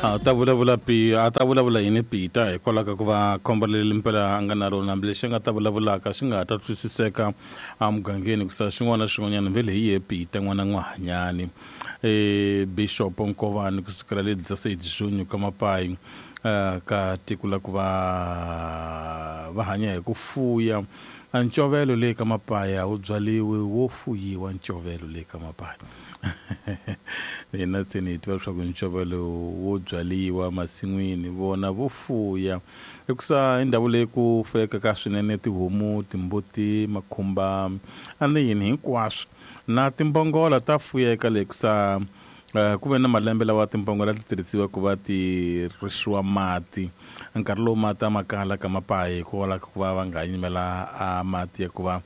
A ta vulavula pi a ta vulavula yini Peter hikwalaho ka ku va khombo leri mpela a nga na rona, hambi lexi a nga ta vulavulaka xi nga ha ta twisiseka emugangeni ku xin'wana na xin'wanyana vhele hi ye Peter n'wana n'wahanyani. Bishop Nkovani kusukela le 16 junho ka Mapayi, ka tiko la ku va va hanya hi ku fuya ncovelo le ka Mapaya wu byaliwi wo fuyiwa ncovelo le ka Mapaya. Hina tseni hi tiva leswaku ncovelo wo byaliwa masin'wini, vona vo fuya hikusa i ndhawu leyi ku fuyekaka swinene tihomu, timbuti, makhumba a ni yini hinkwaswo, na timbongola ta fuyeka le kusa. Ku ve na malembe lawa timbongola ti tirhisiwa ku va ti rixiwa mati nkarhi lowu mati a ma kala ka Mapayi, hikwalaho ka ku va va nga yimela a mati ya ku va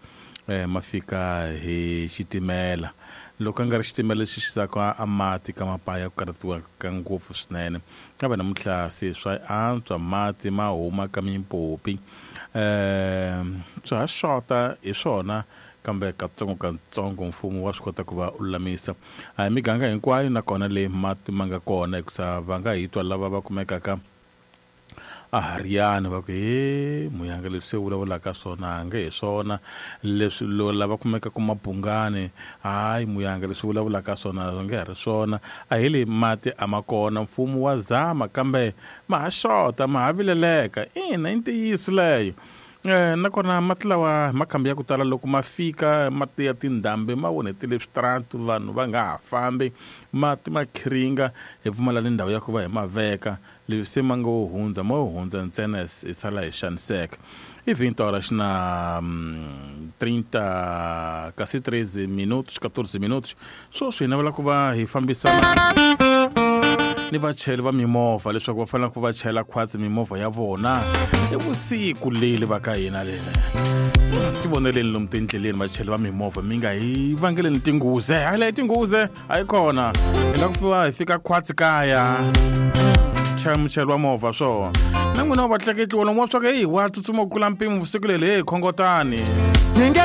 ma fika hi xitimela. Loko a nga ri xitimela lexi xisaka a mati ka Mapaya, ku karhatiwa ka ngopfu swinene, kambe namuntlha se swa antswa, mati ma huma ka mimpopi. Swa ha xota hi swona, kambe katsongokatsongo mfumo wa swi kota ku va u lulamisa. A hi miganga hinkwayo nakona leyi mati ma nga kona, hikusa va nga hi twa lava va kumekaka a Hariyani va ku he muyanga, leswi se vulavulaka swona a nge hi swona leswi. Lava kumekaka Mabungani, hayi muyanga, leswi vulavulaka swona a nge ha ri swona. A hi le mati a ma kona, mfumo wa zama kambe ma ha xota, ma ha vileleka. Ina, i ntiyiso leyo. Nakona mati lawa makhambi ya ku tala loko ma fika, mati ya tindhambi ma onhetile switaratu, vanhu va nga ha fambi, mati ma khiringa, hi pfumala ni ndhawu ya ku va hi ma veka. Leswi se ma ngo hundza mo hundza ntsena, hi sala hi xaniseka. I 20 horas na 30 kasi 13 minutos, 14 minutos sweswi. Hi navela ku va hi fambisana ni vachayeri va mimovha leswaku va fanele ku va chayela khwatsi mimovha ya vona i vusiku leli va ka hina lena. Tivoneleni lomu tindleleni, vachayeri va mimovha, mi nga hi vangeleni tinghuze. Hayi, leyi tinghuze a yi kona, hi la ku fiwa hi fika khwatsi kaya. Chaya muchayeri wa movha swona na n'wina wa vatleketliwa lomu wa swa ku heyi wa tsutsuma ku kula mpimo vusiku leri, heyi, khongotani. Ni nge